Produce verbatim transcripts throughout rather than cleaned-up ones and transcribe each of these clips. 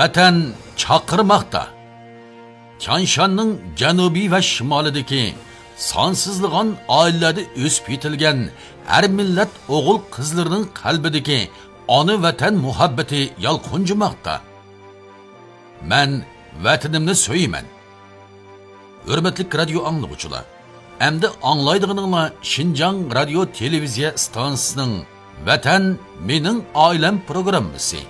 ۋەتەن چاقىرماقتا. تيانشاننىڭ جەنۇبى ۋە شىمالىدىكى سانسىزلىغان ئائىلىلەردە ئۆسۈپ يېتىلگەن ھەر مىللەت ئوغۇل-قىزلىرىنىڭ قەلبىدىكى ئانا ۋەتەن مۇھەببىتى يالقۇنجىماقتا. مەن ۋەتىنىمنى سۆيىمەن. ھۆرمەتلىك رادىيو ئاڭلىغۇچىلار، ئەمدى ئاڭلايدىغىنىڭلار شىنجاڭ رادىيو تېلېۋىزىيە ئىستانسىسىنىڭ ۋەتەن مېنىڭ ئائىلەم پروگراممىسى.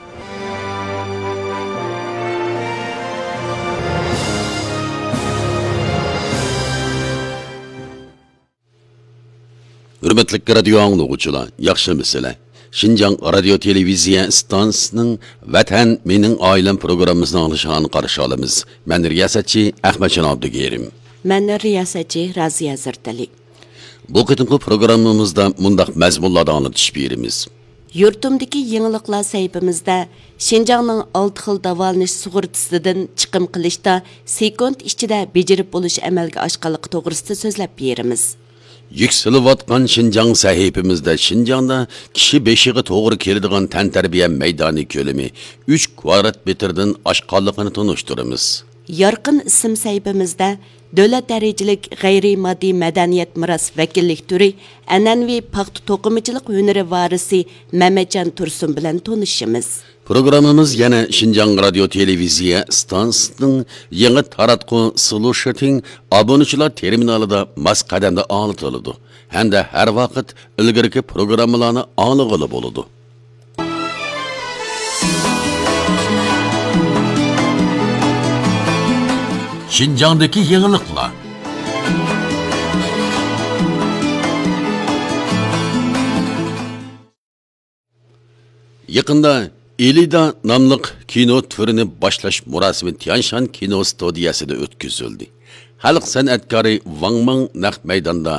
ھۆرمەتلىك رادىيو ئاڭلىغۇچىلار، ياخشىمۇسىلەر؟ شىنجاڭ رادىيو تېلېۋىزىيە ئىستانسىسىنىڭ ۋەتەن مېنىڭ ئائىلەم پروگراممىسىنى ئاڭلىشىڭلارنى قارشى ئالىمىز. مەن رىياسەتچى ئەخمەتجان ئابدۇكېرىم. مەن رىياسەتچى رازىيە زەردەلى. بۇ قېتىمقى پروگراممىمىزدا مۇنداق مەزمۇنلاردا ئاڭلىتىش بېرىمىز. يۇرتۇمدىكى يېڭىلىقلار سەھىپىمىزدە شىنجاڭنىڭ ئالتە خىل داۋالىنىش سۇغۇرتىسىدىن چىقىم قىلىشتا سېكۇنت ئىچىدە بېجىرىپ بولۇش ئەمەلگە ئاشقانلىقى توغرىسىدا سۆزلەپ بېرىمىز. يۈكسىلىۋاتقان شىنجاڭ سەھىپىمىزدە شىنجاڭدا كىشى بېشىغا توغرا كېلىدىغان تەنتەربىيە مەيدانى كۆلىمى ئۈچ كۋادرات مېتىردىن ئاشقانلىقىنى تونۇشتۇرىمىز. يارقىن ئىسىم سەھىپىمىزدە دۆلەت دەرىجىلىك غەيرىي ماددىي مەدەنىيەت مىراس ۋەكىللىك تۈرى ئەنئەنىۋى پاختا توقۇمىچىلىق ھۈنىرى ۋارىسى مەمەتجان تۇرسۇن بىلەن تونۇشىمىز. پروگراممىمىز يەنە شىنجاڭ رادىيو تېلېۋىزىيە ئىستانسىسىنىڭ يېڭى تاراتقۇ سلۇشىتىڭ ئابۇنىچىلار تېرمىنالىدا ماس قەدەمدە ئاڭلىتىلىدۇ ھەمدە ھەر ۋاقىت ئىلگىرىكى پروگراممىلارنى ئاڭلىغىلى بولىدۇ. شىنجاڭدىكى يېڭىلىقلار. يېقىندا ئېلىدا ناملىق كىنو تۈرىنى باشلاش مۇراسىمى تيانشان كىنو ستۇدىيەسىدە ئۆتكۈزۈلدى. خەلق سەنئەتكارى ۋاڭ مىڭ نەق مەيداندا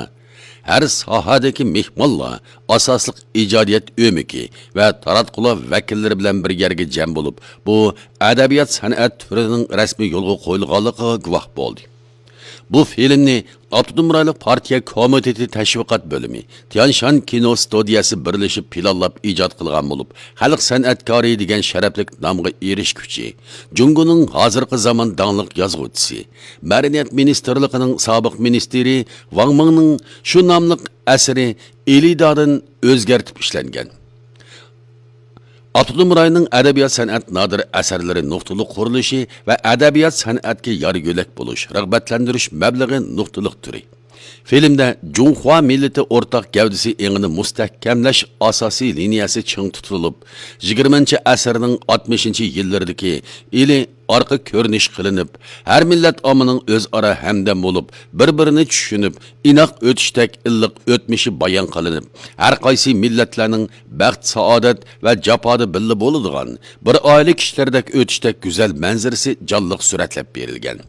ھەر ساھەدىكى مېھمانلار، ئاساسلىق ئىجادىيەت ئۆمىكى ۋە تاراتقۇلار ۋەكىللىرى بىلەن بىر يەرگە جەم بولۇپ، بۇ ئەدەبىيات سەنئەت تۈرىنىڭ رەسمىي يولغا قويۇلغانلىقىغا گۇۋاھ بولدى. بۇ فىلىمنى ئاپتونوم رايونلۇق پارتىيە كومىتېتى تەشۋىقات بۆلۈمى، تيانشان كىنو ستۇدىيەسى بىرلىشىپ پىلانلاپ ئىجاد قىلغان بولۇپ، خەلق سەنئەتكارى دېگەن شەرەپلىك نامغا ئېرىشكۈچى، جۇڭگونىڭ ھازىرقى زامان داڭلىق يازغۇچىسى، مەدەنىيەت مىنىستىرلىقىنىڭ سابىق مىنىستىرى ۋاڭ مىڭنىڭ شۇ ناملىق ئەسىرى ئېلىدادىن ئۆزگەرتىپ ئىشلەنگەن. ئاپتونوم رايوننىڭ ئەدەبىيات سەنئەت نادىر ئەسەرلىرى نۇقتىلىق قۇرۇلۇشى ۋە ئەدەبىيات سەنئەتكە يار يۆلەك بولۇش، رىغبەتلەندۈرۈش مەبلىغى نۇقتىلىق تۈرى. فىلىمدە جۇڭخۇا مىللىتى ئورتاق گەۋدىسى ئېڭىنى مۇستەھكەملەش ئاساسىي لىنىيەسى چىڭ تۇتۇلۇپ، يىگىرمىنچى ئەسىرنىڭ ئاتمىشىنچى يىللىرىدىكى ئىلى ئارقا كۆرۈنۈش قىلىنىپ، ھەر مىللەت ئاممىنىڭ ئۆزئارا ھەمدەم بولۇپ، بىر-بىرىنى چۈشىنىپ، ئىناق ئۆتۈشتەك ئىللىق ئۆتمۈشى بايان قىلىنىپ، ھەر قايسى مىللەتلەرنىڭ بەخت-سائادەت ۋە جاپادا بىللە بولىدىغان، بىر ئائىلە كىشىلىرىدەك ئۆتۈشتەك گۈزەل مەنزىرىسى جانلىق سۈرەتلەپ بېرىلگەن.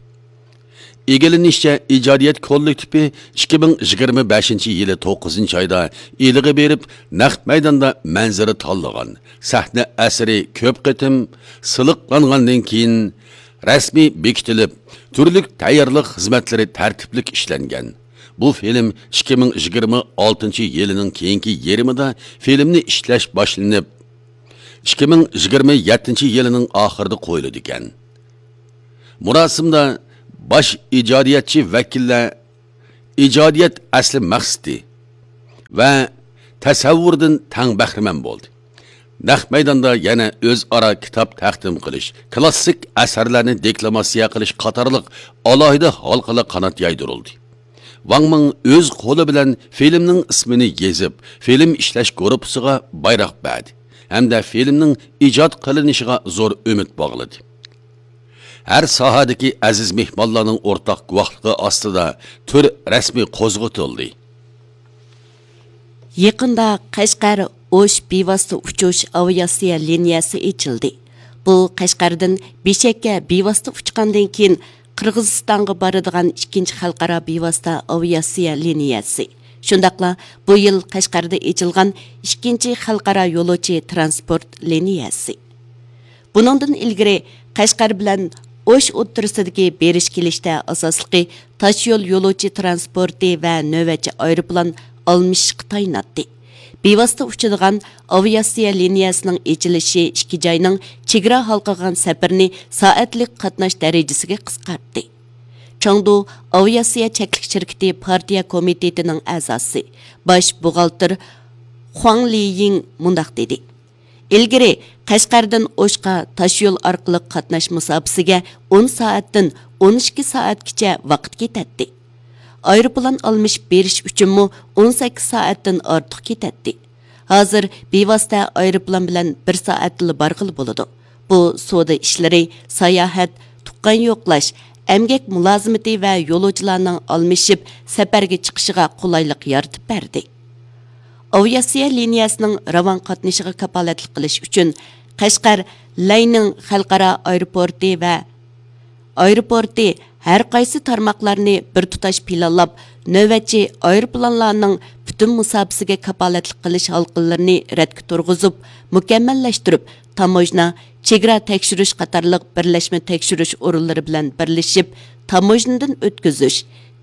ئىگىلىنىشىچە، ئىجادىيەت كوللېكتىپى ئىككى مىڭ يىگىرمە بەشىنچى يىلى توققۇزىنچى ئايدا ئىلىغا بېرىپ، نەق مەيداندا مەنزىرە تاللىغان، سەھنە ئەسىرى كۆپ قېتىم سىلىقلانغاندىن كېيىن رەسمىي بېكىتىلىپ، تۈرلۈك تەييارلىق خىزمەتلىرى تەرتىپلىك ئىشلەنگەن. بۇ فىلىم ئىككى مىڭ يىگىرمە ئالتىنچى يىلىنىڭ كېيىنكى يېرىمىدا فىلىمنى ئىشلەش باشلىنىپ، ئىككى مىڭ يىگىرمە يەتتىنچى يىلىنىڭ ئاخىرىدا قويۇلىدىكەن. مۇراسىمدا باش ئىجادىيەتچى ۋەكىللەر ئىجادىيەت ئەسلى مەقسىتى ۋە تەسەۋۋۇردىن تەڭ بەھرىمەن بولدى. نەق مەيداندا يەنە ئۆزئارا كىتاب تەقدىم قىلىش، كىلاسسىك ئەسەرلەرنى دېكلاماتسىيە قىلىش قاتارلىق ئالاھىدە ھالقىلار قانات يايدۇرۇلدى. ۋاڭ مىڭ ئۆز قولى بىلەن فىلىمنىڭ ئىسمىنى يېزىپ، فىلىم ئىشلەش گۇرۇپپىسىغا بايراق بەردى ھەمدە فىلىمنىڭ ئىجاد قىلىنىشىغا زور ئۈمىد باغلىدى. ھەر ساھەدىكى ئەزىز مېھمانلارنىڭ ئورتاق گۇۋاھلىقى ئاستىدا تۈر رەسمىي قوزغىتىلدى. يېقىندا قەشقەر ئوش بىۋاسىتە ئۇچۇش ئاۋىئاتسىيە لىنىيەسى ئېچىلدى. بۇ قەشقەردىن بېشكەككە بىۋاسىتە ئۇچقاندىن كېيىن قىرغىزىستانغا بارىدىغان ئىككىنچى خەلقئارا بىۋاسىتە ئاۋىئاتسىيە لىنىيەسى. شۇنداقلا بۇ يىل قەشقەردە ئېچىلغان ئىككىنچى خەلقئارا يولۇچى ترانسپورت لىنىيەسى. بۇنىڭدىن ئىلگىرى قەشقەر بىلەن ئوش ئوتتۇرىسىدىكى بېرىش-كېلىشتە ئاساسلىقى تاشيول يولۇچى ترانسپورتى ۋە نۆۋەتچى ئايروپىلان ئالمىشىشقا تايىناتتى. بىۋاسىتە ئۇچىدىغان ئاۋىئاتسىيە لىنىيەسىنىڭ ئېچىلىشى ئىككى جاينىڭ چېگرا ھالقىغان سەپىرىنى سائەتلىك قاتناش دەرىجىسىگە قىسقارتتى. چاڭدۇ ئاۋىئاتسىيە چەكلىك شىركىتى پارتىيە كومىتېتىنىڭ ئەزاسى، باش بوغالتىر خۇاڭ لىيىڭ مۇنداق دېدى: ئىلگىرى قەشقەردىن ئوشقا تاشيول ئارقىلىق قاتناش مۇساپىسىگە ئون سائەتتىن ئون ئىككى سائەتكىچە ۋاقىت كېتەتتى. ئايروپىلان ئالمىشىپ بېرىش ئۈچۈنمۇ ئون سەككىز سائەتتىن ئارتۇق كېتەتتى. ھازىر بىۋاسىتە ئايروپىلان بىلەن بىر سائەتتىلا بارغىلى بولىدۇ. بۇ سودا ئىشلىرى، ساياھەت، تۇغقان يوقلاش، ئەمگەك مۇلازىمىتى ۋە يولۇچىلارنىڭ ئالمىشىپ سەپەرگە چىقىشىغا قولايلىق يارىتىپ بەردى. ئاۋىئاتسىيە لىنىيەسىنىڭ راۋان قاتنىشىغا كاپالەتلىك قىلىش ئۈچۈن، قەشقەر لەينىڭ خەلقئارا ئايروپورتى ۋە ئايروپورتى ھەر قايسى تارماقلارنى بىر تۇتاش پىلانلاپ، نۆۋەتچى ئايروپىلانلارنىڭ پۈتۈن مۇساپىسىگە كاپالەتلىك قىلىش ھالقىلىرىنى رەتكە تۇرغۇزۇپ، مۇكەممەللەشتۈرۈپ، تاموژنا، چېگرا تەكشۈرۈش قاتارلىق بىرلەشمە تەكشۈرۈش ئورۇنلىرى بىلەن بىرلىشىپ، تاموژنىدىن ئۆتكۈزۈش،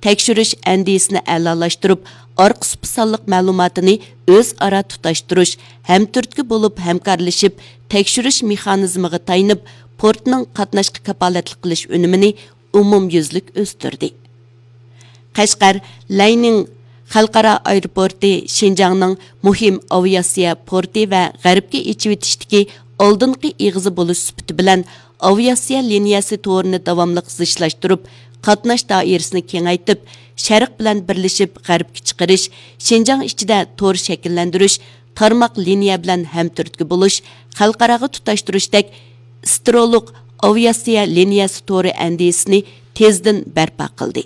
تەكشۈرۈش ئەندىزىسىنى ئەلالاشتۇرۇپ، ئارقا سۇپا سانلىق مەلۇماتىنى ئۆزئارا تۇتاشتۇرۇش، ھەمتۈرتكە بولۇپ ھەمكارلىشىپ، تەكشۈرۈش مېخانىزمىغا تايىنىپ، پورتنىڭ قاتناشقا كاپالەتلىك قىلىش ئۈنۈمىنى ئومۇميۈزلۈك ئۆستۈردى. قەشقەر لەينىڭ خەلقئارا ئايروپورتى شىنجاڭنىڭ مۇھىم ئاۋىئاتسىيە پورتى ۋە غەربكە ئېچىۋېتىشتىكى ئالدىنقى ئېغىزى بولۇش سۈپىتى بىلەن، ئاۋىئاتسىيە لىنىيەسى تورىنى داۋاملىق زىچلاشتۇرۇپ، قاتناش دائىرىسىنى كېڭەيتىپ، شەرق بىلەن بىرلىشىپ غەربكە چىقىرىش، شىنجاڭ ئىچىدە تور شەكىللەندۈرۈش، تارماق لىنىيە بىلەن ھەمتۈرتكە بولۇش، خەلقئاراغا تۇتاشتۇرۇشتەك ئىسترولۇق ئاۋىئاتسىيە لىنىيەسى تورى ئەندىزىسىنى تېزدىن بەرپا قىلدى.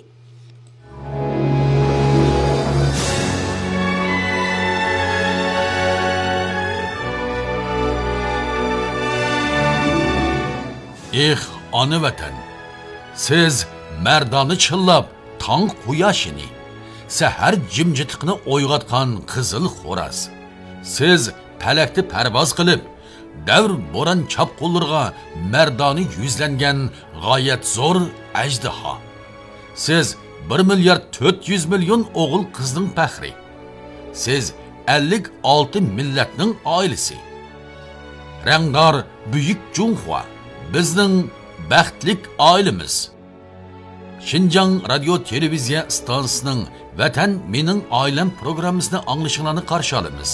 ئېھ، ئانا ۋەتەن! سىز مەردانە چىللاپ تاڭ قۇياشىنى، سەھەر جىمجىتلىقىنى ئويغاتقان قىزىل خوراز. سىز پەلەكتە پەرۋاز قىلىپ، دەۋر بوران چاپقۇنلىرىغا مەردانە يۈزلەنگەن غايەت زور ئەجدىھا. سىز بىر مىليارد تۆت يۈز مىليون ئوغۇل قىزنىڭ پەخرى. سىز ئەللىك ئالتە مىللەتنىڭ ئائىلىسى. رەڭدار بۈيۈك جۇڭخۇا، بىزنىڭ بەختلىك ئائىلىمىز. شىنجاڭ رادىيو تېلېۋىزىيە ئىستانسىسىنىڭ ۋەتەن مېنىڭ ئائىلەم پروگراممىسىنى ئاڭلىشىڭلارنى قارشى ئالىمىز.